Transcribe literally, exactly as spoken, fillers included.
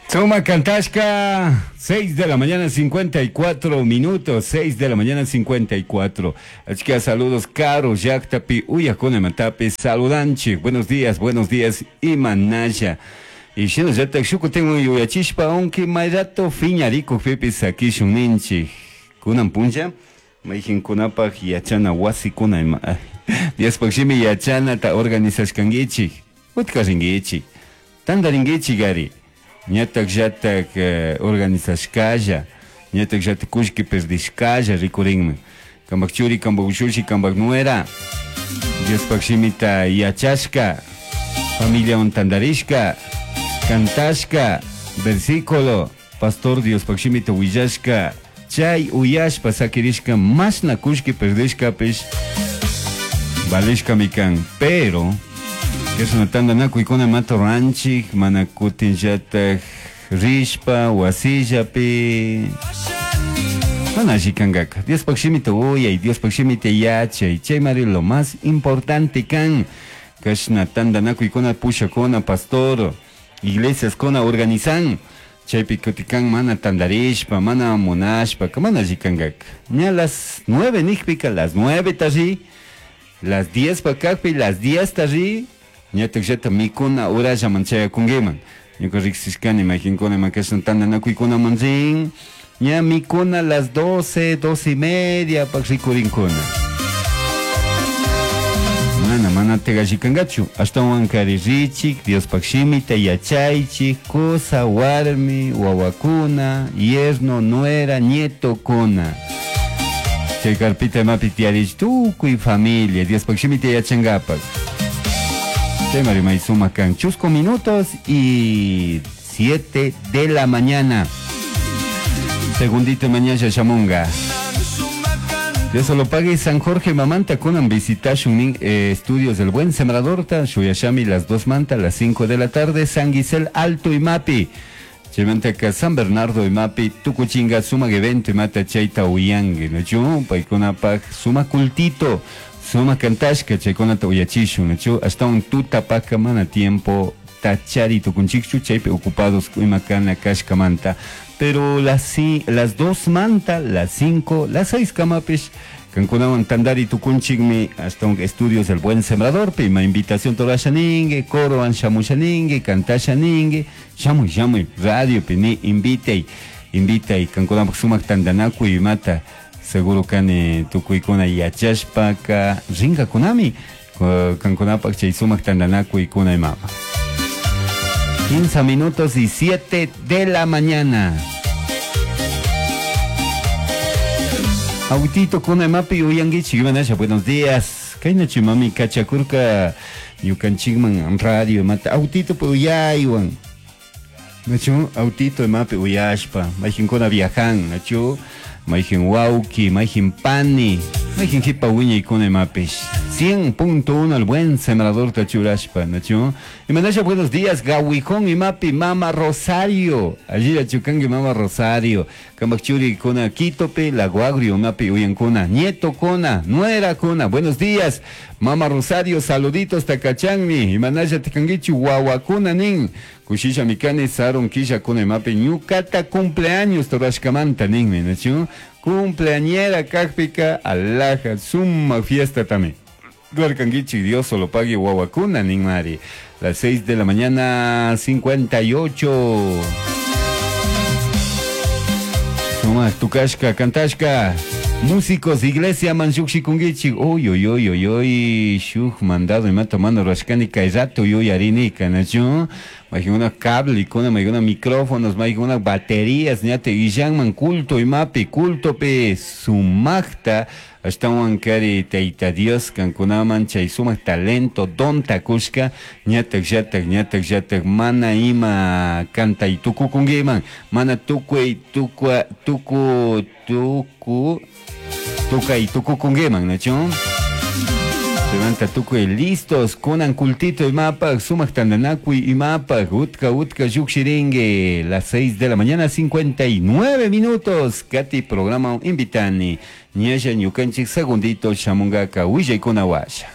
Suma Cantashka, seis de la mañana cincuenta y cuatro minutos, seis de la mañana cincuenta y cuatro. Así que saludos, Caro, Yaktapi, Uyakuna Matapi, saludanchi. Buenos días, buenos días, Imanaya. Y shinallatak shukutin yuyachishpa, aunque may rato fiñarikukpipish sakishun ninchik. Kunan punlla, mayqinkunapaq yachana wasikuna ima Diospaq shimi yachanata organizashkankichik. Utka rinkichik. Tantarinkichik ari. Ñatak llatak eh, organizashkalla, ñatak llatak kullki perdishkalla rikurinman. Kampak churi, kampak ushushi, kampak nuera. Diospaq shimita yachashka, familiawan tantarishka, cantashka, versículo, pastor Diospaq shimita willashka, chay uyashpa sakirishka, mashna kullki perdishkapish, valishkami kan. Pero, kashna tantanakuykuna mata ruranchik, mana kutinllatak rishpa, wasillapi, mana alli kankaka. Diospaq shimita uyay, Diospaq shimita yachay, chaymari lo más importante kan. Kashna tantanakuykuna pushakuna, pastor, iglesiaskuna organizan, chaypi kutikan mana tantarishpa, mana munashpa, mana alli kankaka. Ña las nueve nikpika, las nueve ta ri, las diez pa kakpi, las diez ta ri, ñatak llata mikuna urallaman chayakunkiman. Ñuka riksishkani mayqinkuna ima kashna tantanakuykunaman rin, ña mikuna las doce, doce y media pak rikurinkuna. Mana, mana tegallikankachu. Ashtawan kari richik, Diospaq shimita yachaychik, kusa, warmi, wawakuna, yerno, nuera, nietokuna. Chay carpita imapi tiyarich tukuy familia, Diospaq shimita yachankapak. Chay may sumak kan. Chusco minutos y siete de la mañana. Segundito mañana shamunga. Dios lo pague San Jorge Mamanta kunan visitashun nin eh, estudios del Buen Sembrador ta shuyashami las dos manta las cinco de la tarde San Gisel Alto imapi. Chaymantaka San Bernardo imapi tukuchinga sumak evento imata chayta uyangi nachu paykunapaq sumak cultito sumak kantashka chaykunata uyachishun nachu ashtawan tutapaka mana tiempo tachari tukunchikchu chaypi ocupados ima kana kashkamanta, pero las, las dos manta, las cinco, las seis kamapish kankunawan tantari tukunchikmi hasta un estudios del Buen Sembrador pi ima invitación torashaningue coro shamushaningue cantashaningue shamuy shamuy radio pi ni invitay invitay kankunapak sumak tantanakuy imata seguro kani tukuykuna yachashpaka rinkakunami kankunapak chay sumak tantanakuykuna imama. quince minutos y siete de la mañana. Autito kuna imapi uyanguichik imanasha, buenos días. Kaynachu mami kachakurka ñukanchikman radio imata autito pe uyaywan. Nachu autito imapi uyashpa, mayqinkuna viajan, nachu mayqin wawki, mayqin pani, mayqin hipa wiñaykuna imapish. cien punto uno al Buen Sembrador tachurashpa, nachu. Imanasha, buenos días, Gawijón imapi Mama Rosario. Allí achukangi Mama Rosario. Kampak churi kuna Quitopi, Lago Agrio imapi uyankuna, nieto kuna, nuera kuna. Buenos días, Mama Rosario, saluditos takachanmi. Imanasha tikangichu wawakuna nin. Kushisha mikani sarun kisha kuna imapi ñukata cumpleaños torashkamanta ninmi, nachu. Cumpleañera kakpika alaja suma fiesta también. Rurarkankichik, Dios solo pague wawakuna ninmari. Las seis de la mañana cincuenta y ocho. Suma tukashka, kantashka. Músicos, iglesia man llukshikunkichik. Uy, uy, uy, uy, uy. Shuk mandado imata mana rurashkani kay rato yuyarinika, nachu. Maykuna cable, kuna maykuna micrófonos, maykuna baterías, ñate illanman culto imapi, cultopi sumakta ashtawan kari Tayta Dios kankunaman chay sumak talento donta kushka ñatak llatak ñatak llatak mana ima kantay tukukunkiman mana tukuy tukua tuku tuku tukay tukukunkiman nachu. Chaymanta tukuy listos kunan cultito imapak sumak tantanakuy imapak utka utka llukshirinki las seis de la mañana cincuenta y nueve minutos. Kati programa invitani ñalla ñukanchik segundito shamungaka willaykuna washa.